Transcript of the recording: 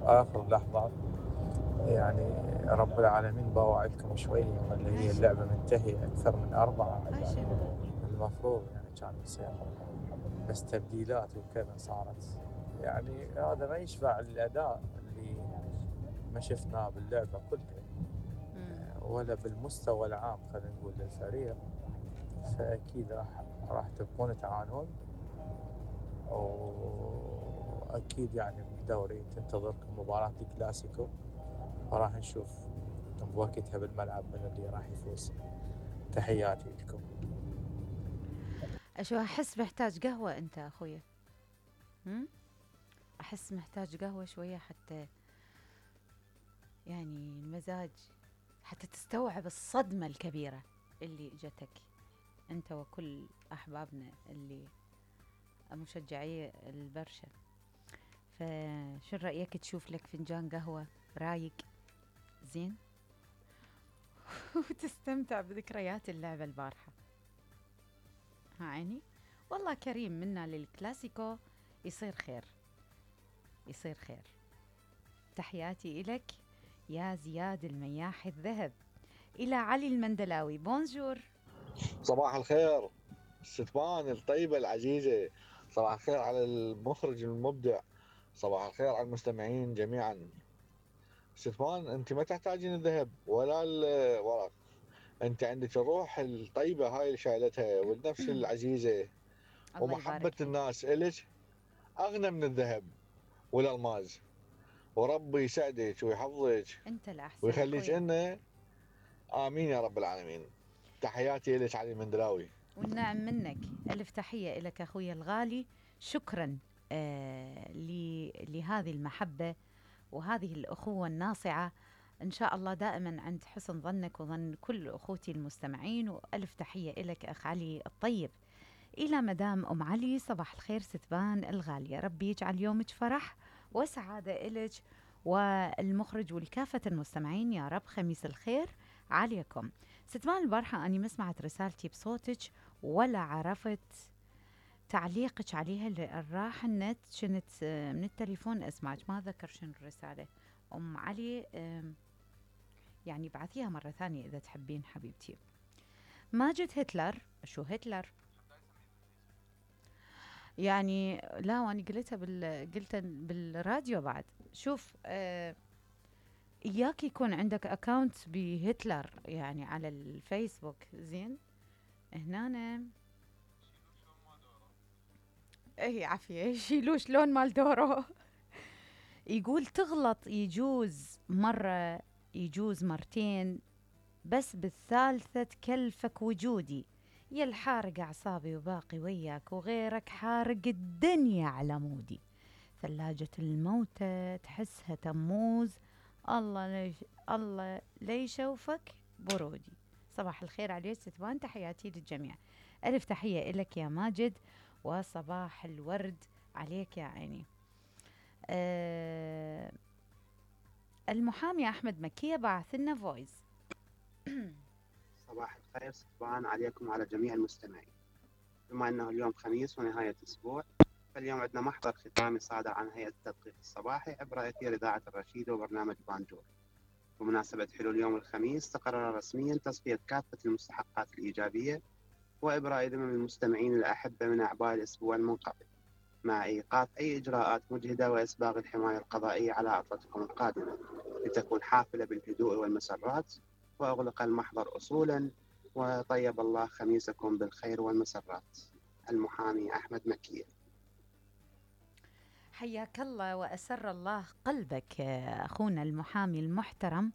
آخر لحظات يعني رب العالمين بواعدكم شوية ولا هي اللعبة منتهية أكثر من 4 يعني المفروض يعني كان يصير، بس تبديلات وكذا صارت، يعني هذا ما يشفع الأداء اللي ما شفناه باللعبة كلها ولا بالمستوى العام خلينا نقول للفريق. فأكيد راح تبقون تعانون، وأكيد يعني بالدوري تنتظركم مباراة الكلاسيكو، وراح نشوف بوقتها بالملعب من اللي راح يفوز. تحياتي لكم. أشو أحس محتاج قهوة أنت أخويا؟ أحس محتاج قهوة شوية حتى يعني المزاج، حتى تستوعب الصدمة الكبيرة اللي اجتك أنت وكل أحبابنا اللي مشجعي البرشا. فشو رأيك تشوف لك فنجان قهوة رايق زين وتستمتع بذكريات اللعبة البارحة؟ ها عيني، والله كريم منا للكلاسيكو يصير خير، يصير خير. تحياتي إلك يا زياد المياح الذهب. إلى علي المندلاوي، بونجور. صباح الخير ستبان الطيبة العزيزة، صباح الخير على المخرج المبدع، صباح الخير على المستمعين جميعا. ستبان انت ما تحتاجين الذهب ولا الورق، انت عندك الروح الطيبة هاي اللي شايلتها والنفس العزيزة الله ومحبة يبارك فيك. الناس إلك أغنى من الذهب والألماس، وربي يسعدك ويحفظك أنت الأحسن ويخليك أخويا. لنا، آمين يا رب العالمين. تحياتي لك علي المندلاوي. والنعم منك، ألف تحية لك أخويا الغالي. شكرا لهذه المحبة وهذه الأخوة الناصعة. إن شاء الله دائما عند حسن ظنك وظن كل أخوتي المستمعين. وألف تحية لك أخ علي الطيب. إلى مدام أم علي، صباح الخير ستبان الغالية، ربي يجعل يومك فرح وسعادة إلك والمخرج والكافة المستمعين يا رب. خميس الخير عليكم. ستبان البارحة أني ما سمعت رسالتي بصوتك ولا عرفت تعليقك عليها، اللي راح النت كنت من التليفون أسمعك، ما أذكر شنو الرسالة. أم علي يعني بعثيها مرة ثانية إذا تحبين حبيبتي. ماجد هتلر، شو هتلر؟ يعني لا، وأنا قلتها بالراديو بعد. شوف إياك يكون عندك أكاونت بهتلر يعني على الفيسبوك، زين؟ هنا اي عافية يشيلوش لون مال دورو. يقول تغلط يجوز مرة، يجوز مرتين، بس بالثالثة تكلفك وجودي. يا الحارق أعصابي وباقي وياك، وغيرك حارق الدنيا على مودي. ثلاجة الموتى تحسها تموز، الله ليش يشوفك برودي. صباح الخير عليك ستبان، تحياتي للجميع. ألف تحية إلك يا ماجد، وصباح الورد عليك يا عيني. المحامي أحمد مكية بعث لنا فويس. صباح الخير ستبان عليكم وعلى جميع المستمعين. بما أنه اليوم خميس ونهاية أسبوع، فاليوم عندنا محضر ختامي صادر عن هيئة التدقيق الصباحي عبر أثير إذاعة الرشيد وبرنامج بانجور. بمناسبة حلول يوم الخميس، تقرر رسميا تصفية كافة المستحقات الإيجابية وإبراء ذمم المستمعين الأحبة من أعباء الأسبوع المنقضي، مع إيقاف أي إجراءات مجهدة وإسباغ الحماية القضائية على عطلتكم القادمة لتكون حافلة بالهدوء والمسرات. وأغلق المحضر أصولا، وطيب الله خميسكم بالخير والمسرات. المحامي أحمد مكية. حياك الله وأسر الله قلبك أخونا المحامي المحترم